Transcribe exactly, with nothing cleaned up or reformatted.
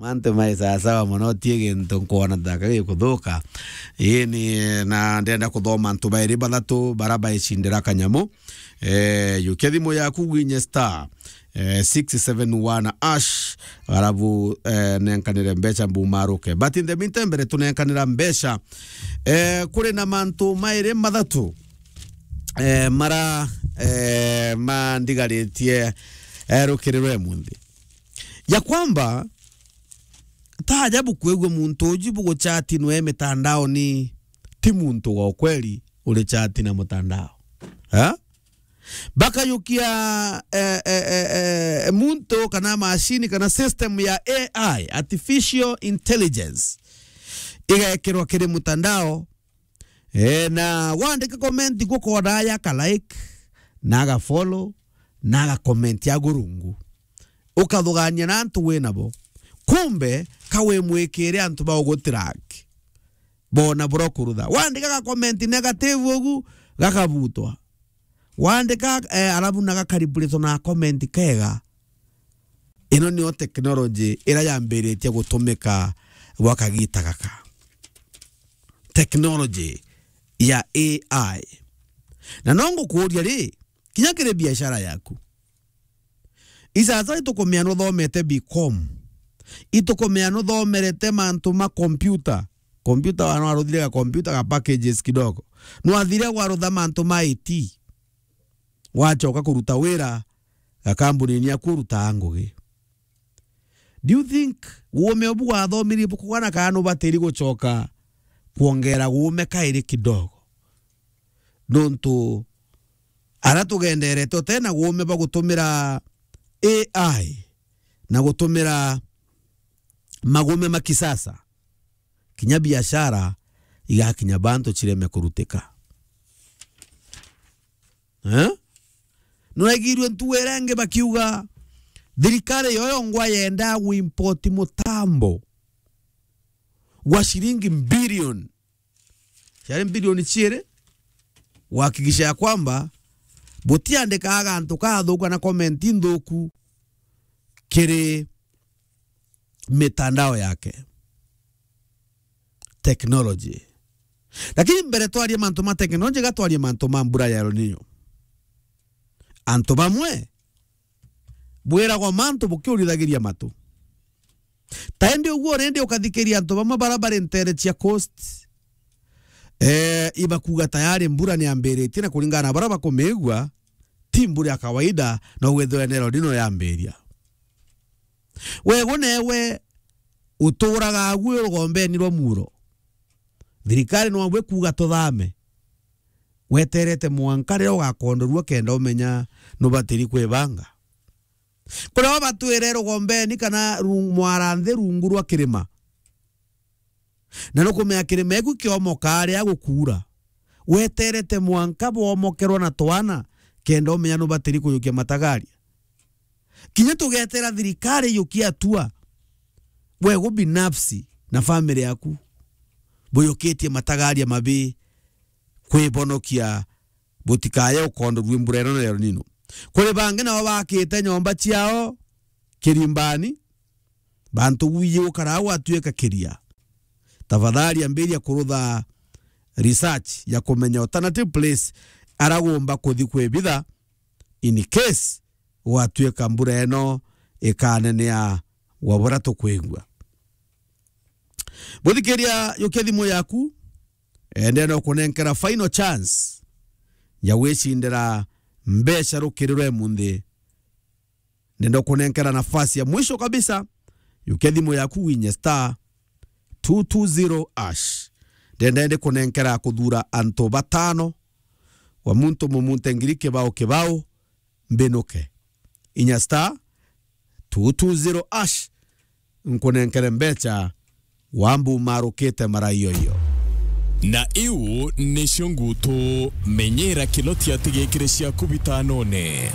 Mantu mai sawa sawa mono, ti gintu nkwona ta ka gikuthuka. Ii ni, na ndenda kuthoma antu bairi bathatu bara baicindira kanyamu. Eh, yukia thimu yaku winye star, eh, six seven one ash, arabu, eh, nenkanire mbeca mbumaruke. But in the meantime, mbere tunenkanira mbeca, eh, kuri na mantu mairi mathatu, eh, mara, eh, mandigaritie, eh, rukiri rwe munthi. Ya kwamba, ta ajabu kwigua muntu uju buguchati nwe mitandaoni, ti muntu wa ukweli uri chati na mutandao. Ha? Bakayukia, eh, eh, eh, eh, muntu kana machine kana system ya A I, artificial intelligence, igekirwa kiri mutandao. Eh, na wandika comment gukoona ya ka like, na ga follow, na ga comment ya gurungu. Ukathugania na antu wi nabo. Kumbe, ka wi mwikire antu ba ugutrack. Bona bura kurutha. Wandika ga comment negative ugu, gakabutwa. Wandika, eh, arabu na gakaribulitwa na comment kega. Ino niyo technology ira yambiritie gutumika gwa kagita gaka. Technology ya A I. Na no ngukuuria ri, kinya kiri biashara yaku. Isasa itukumea nuthomete B com. Itukumea nuthomerete mantu ma computer. Computer wana waruthire ga computer ga packages kidogo. Nwathire warutha mantu ma I T. Wachoka kuruta wira ga kambunini aku urutaa ngugi. Do you think uume ubu wathomirie bukugana kana nubatiri guchoka kwongera uume kairi kidogo? Nontu ara tugenderete utena uume bwa gutumira A I na gutumira magume ma kisasa, kinya biashara igakinya bantu cireme kurutika. Eh? Nuraigirue ntugo iria ingi bakiuga thirikari yoyo ngwa yenda guimport mutambo gwa ciringi mbilioni, ciari mbilioni ciiri, gwakikisha ya kwamba butiandikaga gantu kathuku kana comment nthuku kiri mitandao yake. Technology. Lakini mbere twarie mantu ma technology, ga twarie mantu ma mbura ya El Nino. Antu bamwe bwiragwa mantu bukiurithagiria matu. Ta indi uguo rindi ukathikiria antu bamwe bara bari ntere cia coast, eh, ibakuga tayari mbura ni yambiritie, na kuringana na bara bakumigua, ti mbura ya kawaida, na ugwithirwa ni El Nino yambiria. Wego newe uturaga agu rugombeni rwa muro. Thirikari no bwe kuga tuthame. Weterete mwanka riria ugakondorua kenda umenya nubatiri kwibanga. Kuria batwire rugombeni kana ru-, mwaranthi rungu rwa kirima. Na nukumenya kirima eku kiomoka aria gukuura. Weterete mwanka bwomokerwa na twana, kenda umenya nubatiri kuyukia matagaria. Kinya tugetera thirikari yukia atua, wego binafsi na family yaku buyukitie matagaria mabi kwibonokia butikaye ukondorue mbura ino na El Nino. Kuri bangi nao bakite nyomba ciao kirimbani, bantu gwiye gukara au atuika kiria. Tafadhali ambiria kurutha research ya kumenya alternative place aragumba kuthi kwibitha in case gwatuika mbura ino ikanenea wa bura tukwigua. Buthikiria, yukia thimu yaku, ende no kunenkera final chance ya gwicindira mbeca rukiri rwe munthi. Ndenda kunenkera nafasi ya mwisho kabisa, yukia thimu yaku winye star two two zero hash. Ndenda ndi kunenkera kuthura antu batano, wa muntu mumunte ngiri kibao kibao, mbinuke. Inya star two two zero hash, nkunenkere mbeca, wambu marukite mara iyo iyo. Na iu nicio ngutu, menyera kinoti atigikire ciaku bitanone.